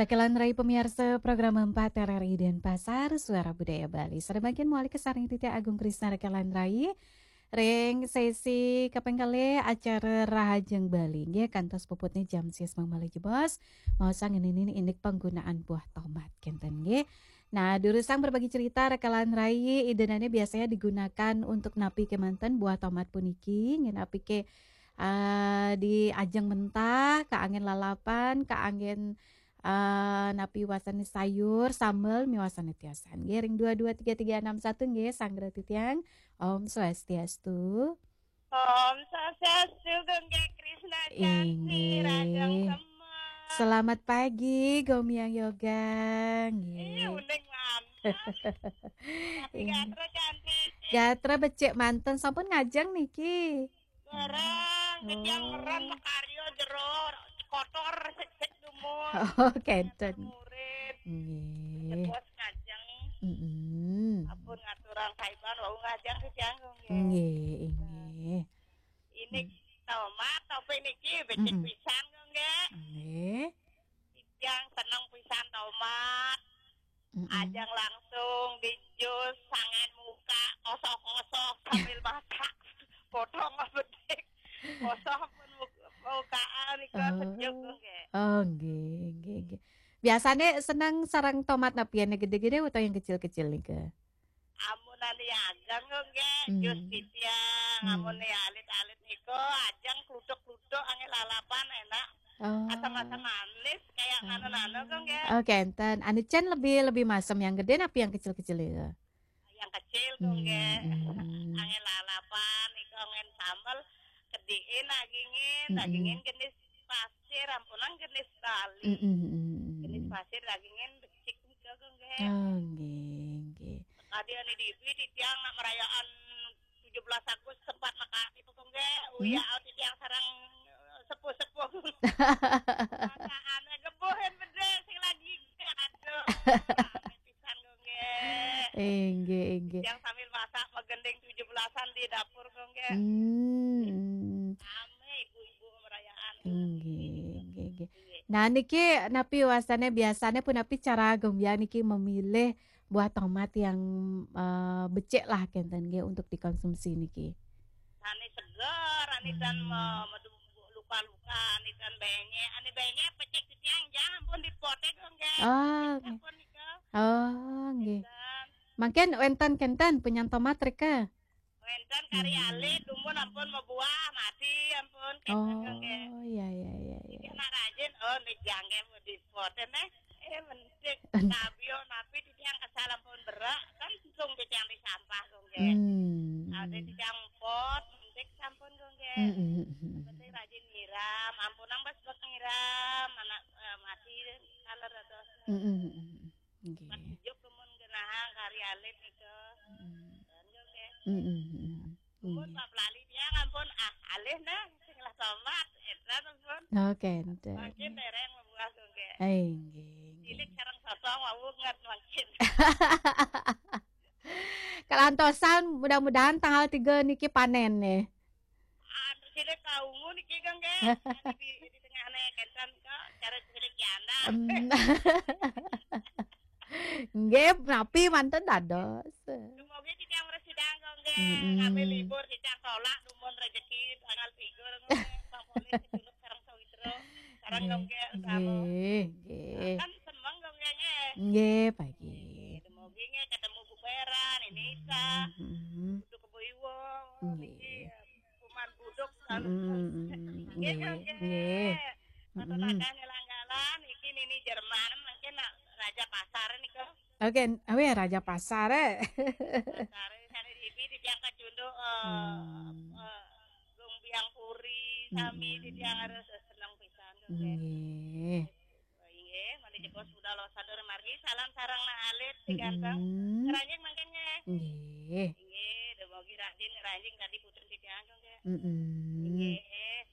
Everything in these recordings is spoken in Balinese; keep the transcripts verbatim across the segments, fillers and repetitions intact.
Rekan Rai pemirsa program empat R R I Denpasar, Suara Budaya Bali. Sareng mangkin malih kasarengin titiang Agung Krisna rekan Rai. Ring sesi kaping kalih acara Rahajeng Bali nggih, kantos puputnya jam sis malih jebos. Maosang ngeninin indik penggunaan buah tomat kenten nggih. Nah, durusang berbagi cerita rekan Rai, idanane biasanya digunakan untuk napi kemanten buah tomat puniki, nggih napi ke, eh, di ajeng mentah, kaanggén lalapan, kaanggén, eh, napi wasane sayur, sambel, miwasane tiosan. Nggih, ring dua dua tiga tiga enam satu nggih, sanggra titiang. Om Swastiastu. Om Swastiastu, Gung Gé Krisna Janti, Inggih. Radang Semar. Selamat pagi, Gomiang Yoga. Nggih. Ih, uning mantap. Tapi Inggih. Gatra cantik. Gatra becik manten, sampun ngajeng niki. Barang, titiang Oh. Meran makarya jero, kotor, secek dumun. Oh, kenten. Murid. Nggih. Jebos ngajeng. Mm-mm. Ampun ngaturang kaiban, wau ngajeng titiang, Gung, nggih. Nggih, inggih. Ini Hmm. tomat, topi niki becik Mm-mm. pisan, Gung, nggih. Nggih. Titiang seneng pisan tomat. Mm-mm. Ajeng langsung di jus, sanget muka, kosoh-kosoh sambil masak. Potong bedik. Kosoh pun muka, mukaan nika Oh. Sejuk, Gung, nggih. Oh, nggih, nggih, nggih. Biasane seneng sareng tomat napi, ane gede-gede utawi yang kecil-kecil nika? Amun ane ageng, Gung, nggih, Hmm. jus titiang, Hmm. amun ane alit-alit nika, ajeng kluthuk-kluthuk, angin lalapan, enak. Oh. Asam-asam manis, kayak Oh. nano-nano, Gung, nggih. Oh, kenten. Anu Cen lebih, lebih masem yang gede napi yang kecil-kecil itu? Yang kecil, Gung, nggih. Hmm, hmm, hmm. Angin lalapan, nika angin sambel, kediin dagingin, Mm-mm. dagingin jenis pasir, ampunang jenis Bali. Mm-mm, mm-mm. Jenis pasir, dagingin becik nika, Gung, nggih. Oh, nggih, nggih. Tadi ane dibi titiang nak merayaan tujuh belas Agustus sempat makati, Gung, nggih. Uya Hmm? Titiang sareng, eh, sepuh-sepuh. Masakan gebuhin bedil sing lagi. Aduh, rame pisan, Gung, nggih. Inggih, inggih. Titiang sambil masak, magending tujuh belasan di dapur, Gung, nggih. Hmm. Rame ibu-ibu merayaan. Inggih, inggih, inggih. Inggih. Nah, niki napi wasane biasane pun napi cara Gung Biang niki memilih buah tomat yang, eh, becik lah kenten nggih untuk dikonsumsi niki? Sane seger, ane tan Hmm. me-, medu-, luka-luka, ane tan benyek, ane benyek becik titiang jang ampun dipote, Gung, nggih. Ah, nggih. Ampun nika. Oh, nggih. Enten. Mangkin wenten kenten punyan tomat rika? Wenten kari Hmm. alit, dumun ampun mabuah, mati ampun, kenten, Gung, nggih. Oh, iya, iya, iya, iya. Jadi anak rajin, oh, nih jangge mau dipote, neh. Eh, mentik, kabio, napi, titiang asal ampun berak, kan langsung titiang di sampah, Gung, nggih. Hmm. Ada titiang pot, mentik sampun, Gung, nggih. Hmm, hmm, hmm, hmm. Penting rajin nyiram, ampunang bas bek nyiram, anak, eh, mati, kaler atau Hmm, hmm, hmm, hmm. Nggih. Pas ijuk dumun genahang kari alit nika. Hmm. Nika, nggih. Hmm, hmm, hmm. Dumun Nggih. Pak Pelali dia ngampun, ah, alih nah, sing lah tomat, edan ampun. Oh, kenten. Makin dereng membuah, Gung, nggih. Eh, nggih, nggih. Cilik sareng sotong wau nget mangkin. Kalantosan, mudah-mudahan tanggal tiga niki panen nih. Anu, cilik kaungu niki, Gung, nggih. Anu di, di tengahne kenten kok, cara cilik janda. Em. Nggih, napi manten dados. Dumogi titiang mresidang, Gung, nggih. Mm-mm. Ngambil libur titiang tolak dumun rejeki tanggal tiga, Gung, nggih. Bang Polih, Juluk sareng Sawitra. Sareng, Gung, nggih, nggih, utama. Nggih, nggih. Kan semeng, Gung, nggih, nggih. Nggih, pagi. Nggih, dumogi nggih ketemu Bu Peran, ini Isa. Mm-mm. Kudu Kebo Iwa, Nggih. niki, Kuman Buduk, kan. Mm-mm, mm-mm. Nggih, Nggih, Gung, nggih. nggih. Matur Mm-mm. Langgalan, iki nini Jerman, mungkin nak Raja Pasar nika. Oke, awe Raja Pasar, eh. Pasar, sane dibi titiang kacunduk, eh, Hmm. eh, Gung Biang Puri, sami Mm-mm. titiang harus seneng pisan, Gung, nggih. Nggih. Inggih, malih jebos budal sadur margi, salam sareng nah alit, si ganteng. Mm-mm. Ngeranjing mangkin, nggih. Nggih. Inggih, dumogi rajin ngeranjing tadi putun titiang, Gung, nggih. Mm-mm. Inggih,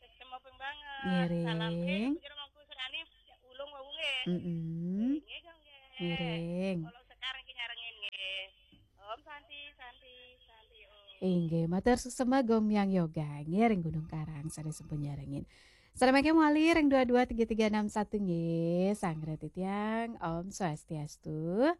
sesama ping banget. Ngiring. Salam, eh, Bujur Mangku Serani, ulung wau, nggih. Mm-mm. Inggih, Gung, nggih. Ngiring. Kalau sekarang ki nyarengin, nggih. Om Santi, Santi, Santi, Om. Inggih, matur suksma Gomiang Yoga, nggih, ring Gunung Karang, sane sampun nyarengin. Salam mangke malih ring dua dua tiga tiga enam satu nggih, sareng titiang. Om Swastiastu.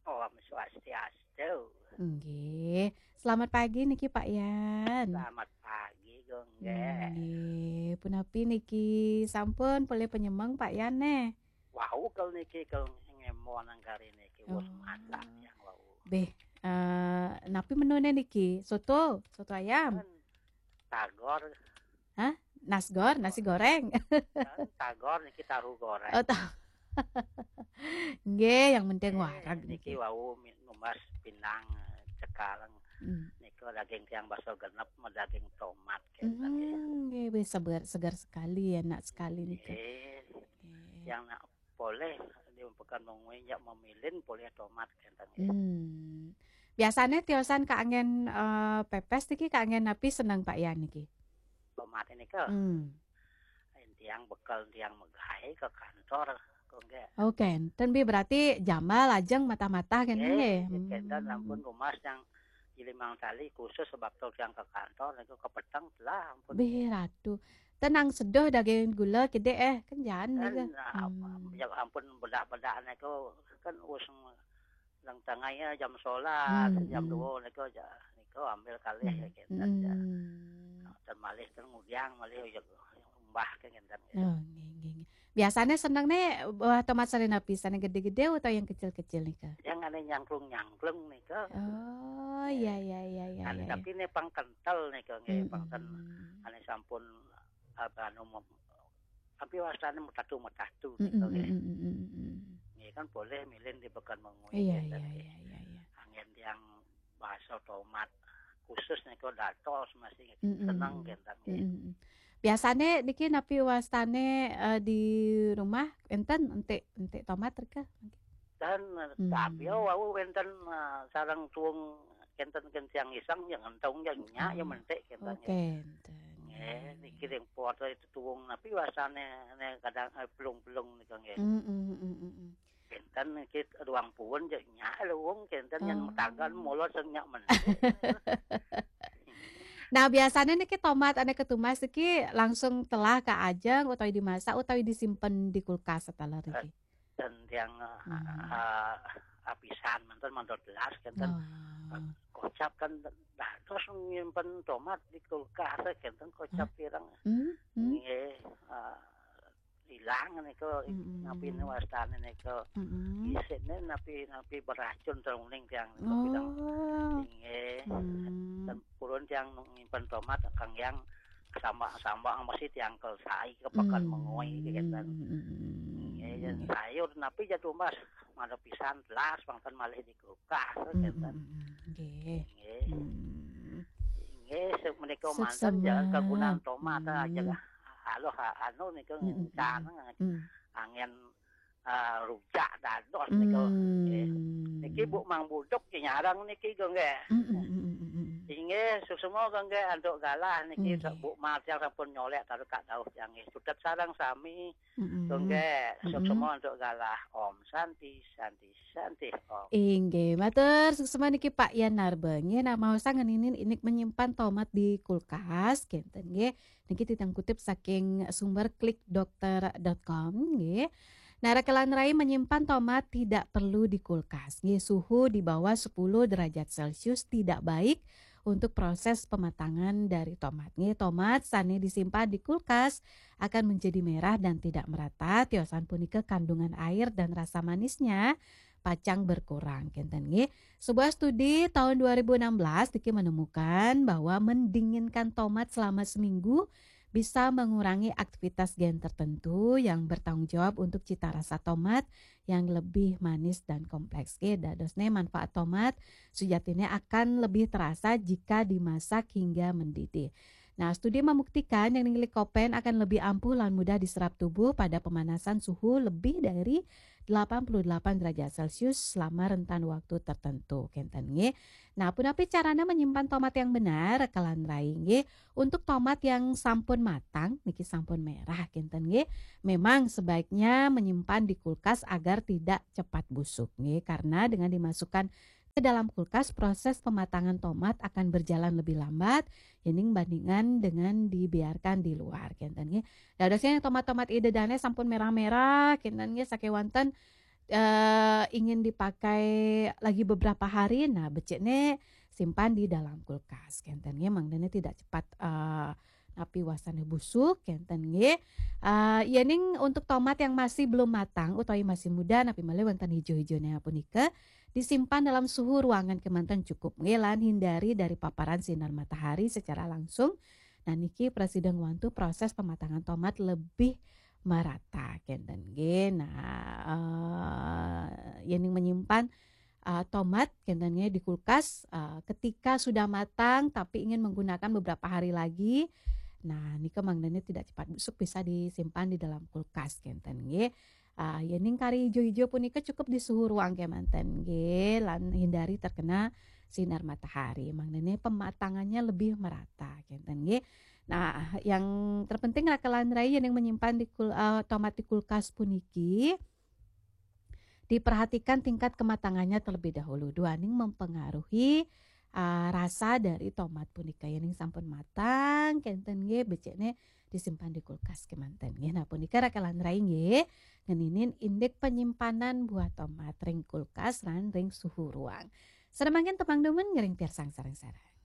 Om Swastiastu. Nggih. Selamat pagi niki Pak Yan. Selamat pagi, Gung, nggih. Nggih, punapi niki sampun polih panyemeng Pak Yan neh? Wau kal niki kal ngemo nang kari niki wus Oh. masak yang wau. Beh, eh, napi menune niki? Soto, soto ayam. Kan tagor. Hah? Nasgor, nasi goreng. Kan tagor niki tahu goreng. Oh, tahu. Nggih, yang penting Eh, wareg niki niki. Wau mi-, numbas pindang, eh, cekareng. Hmm. Nika daging tiang basa genep, daging tomat, kenten, nggih. Hmm, nggih, wis segar, segar sekali, enak sekali nika. Nggih. Nggih. Yang nak polih di Pekan Mengwi, nyak memilin polih tomat, kenten, nggih. Hmm. Biasane tiosan kaangen, eh, pepes niki, kaangen napi seneng Pak Yan niki? Tomat nika. Hmm. Tiang bekel tiang megai ke kantor, kok nggih. Oh, kenten bi berarti jambal ajeng matah-matah kenten nggih. Nggih, kenten Hmm. ampun rumas yang limang tali khusus sebab to tiang ke kantor niku kepeteng telah ampun. Bih, ratu. Tenang seduh daging gula kidik eh, kenjaan Kan, niku. ah, Hmm. ya ampun bedak-bedak niku kan wis leng tengah ya jam solat, Hmm, jam hmm. dua niku ja, niku ambil kalih Hmm. ya kenten ja. Hmm. Nah, ten malih ten ngudiang malih ya umbah ke kenten ya. Oh, nggih, nggih, nggih. Biasane seneng ne buah tomat sari napi, sane gede-gede atau yang kecil-kecil nika? Yang ane nyangklung-nyangklung nika. Oh, iya, iya, iya, iya, Ane iya, iya. tapi ne pang kental nika nggih, Hmm, pang ten hmm. ane sampun, apa, anu, mem-, tapi wasane metatu-metatu Hmm, nika hmm, nggih. hmm, hmm, hmm, hmm. Nggih kan boleh milih di Pekan Mengwi Iya, kenten iya, nggih. iya, iya, iya. Anggen tiang basa tomat khusus nika dados masih Mm-mm. seneng kenten nggih. Mm-mm. Biasane niki napi wastane, eh, di rumah enten entik, entik tomat rika? Dan, eh, Hmm. tapi wau wenten, eh, sareng tuung kenten kencang iseng yang entong yang nyak yang Oh. mentik kenten Oh, nggih. Kenten. Nggih, niki ring pot itu tuung napi wastane ne kadang, eh, pelung-pelung nika nggih. Mm-mm, mm-mm, mm-mm. Kenten niki ruang puun je nyak luung kenten yang Oh. metagan mulut sing nyak mentik. Nah, biasanya niki tomat ane ketumas niki langsung telah ka ajeng utawi dimasak utawi disimpen di kulkas sataler niki? Dan yang, Hmm. eh, apisan manten mandor gelas kenten. Oh. Kocap kan dados nyimpen tomat di kulkas kenten kocap Hah? pirang. Hmm? Hmm? Nggih, eh, ilang niku, Mm-mm. napi ne wastane niku. Mm-mm. Isine napi, napi beracun trauning tiang niku bilang. Oh. Inggih. Hmm. Dan purun tiang nyimpen tomat kang yang sambak-sambak mesti tiang kel sai ke Pekan Hmm. Mengwi kenten. Mm-mm. Inggih, yen sayur napi jatuh mas, mana pisan telas pangkan malih di kulkas Mm-mm. kenten. Nggih. Inggih. Hmm. Inggih, se-, menika manten Suksema. Jalan kagunaan tomat, ah, Hmm. jalan. Halo, ha-, anu nika Mm-mm. ngencan, Mm. angin, ah, rujak dados nika. Hmm. Nggih. Niki Bu Mang Buduk nggih nyarang niki, nggih. Mm-mm, mm-mm, mm-mm. Inggih, suksema, nggih, antuk galah niki, Nggih. Bu Mar tiang sampun nyolek taruh kat dauh tiang nggih. Sutet sareng sami, Mm-mm. nggih, Mm-mm. suksema antuk galah. Om Santi, Santi, Santi, Om. Inggih, matur suksema niki Pak Yan Narba. Nggih, nak maosang ngeninin indik menyimpan tomat di kulkas, kenten nggih. Niki titiang kutip saking sumber klik dokter dot com nggih. Nah, rekelan rai menyimpan tomat tidak perlu di kulkas. Nggih, suhu di bawah sepuluh derajat Celcius tidak baik untuk proses pematangan dari tomat. Nggih, tomat sane disimpan di kulkas akan menjadi merah dan tidak merata. Tiosan punika kandungan air dan rasa manisnya pacang berkurang, kenten nggih. Sebuah studi tahun dua ribu enam belas niki menemukan bahwa mendinginkan tomat selama seminggu bisa mengurangi aktivitas gen tertentu yang bertanggung jawab untuk cita rasa tomat yang lebih manis dan kompleks. Nggih, dadosne manfaat tomat sujatine akan lebih terasa jika dimasak hingga mendidih. Nah, studi membuktikan yang ngilik kopen akan lebih ampuh lan mudah diserap tubuh pada pemanasan suhu lebih dari delapan puluh delapan derajat Celcius selama rentan waktu tertentu. Kenten nggih. Nah, punapi carane menyimpan tomat yang benar, rekelan rai nggih. Untuk tomat yang sampun matang, niki sampun merah, kenten nggih. Memang sebaiknya menyimpan di kulkas agar tidak cepat busuk nggih, karena dengan dimasukkan ke dalam kulkas, proses pematangan tomat akan berjalan lebih lambat, yéning bandingan dengan dibiarkan di luar, kénten nggih. Dadosnya tomat-tomat Ida dané sampun merah-merah, kénten nggih, sakéwanten eh, ingin dipakai lagi beberapa hari, nah, becikné simpan di dalam kulkas, kénten nggih, mangdané tidak cepat, eh, napi wastané busuk, kénten nggih. Eh, yéning untuk tomat yang masih belum matang utawi masih muda, napi malih wénten ijo-ijoné punika, disimpan dalam suhu ruangan kémanten cukup nggih, lan hindari dari paparan sinar matahari secara langsung. Nah, niki prasida ngwantu proses pematangan tomat lebih merata, kénten nggih. Nah, eh, yéning menyimpan, eh, tomat, kénten nggih, di kulkas, eh, ketika sudah matang tapi ingin menggunakan beberapa hari lagi, nah, nika mangdané tidak cepat busuk, bisa disimpan di dalam kulkas, kénten nggih. Ah, yéning kari ijo-ijo punika cukup di suhu ruang kémanten nggih, lan hindari terkena sinar matahari. Mangdané pematangannya lebih merata, kénten nggih. Nah, yang terpenting raka lan rai yéning menyimpan di kul-, eh, tomat di kulkas puniki, diperhatikan tingkat kematangannya terlebih dahulu. Duaning mempengaruhi, eh, rasa dari tomat punika. Yéning sampun matang, kénten nggih, becikné disimpan di kulkas kémanten nggih. Nah, punika raka lan rai nggih, ngeninin indik penyimpanan buah tomat ring kulkas lan ring suhu ruang. Sadaya mangkin tepang dumun ngiring piarsang sareng-sareng.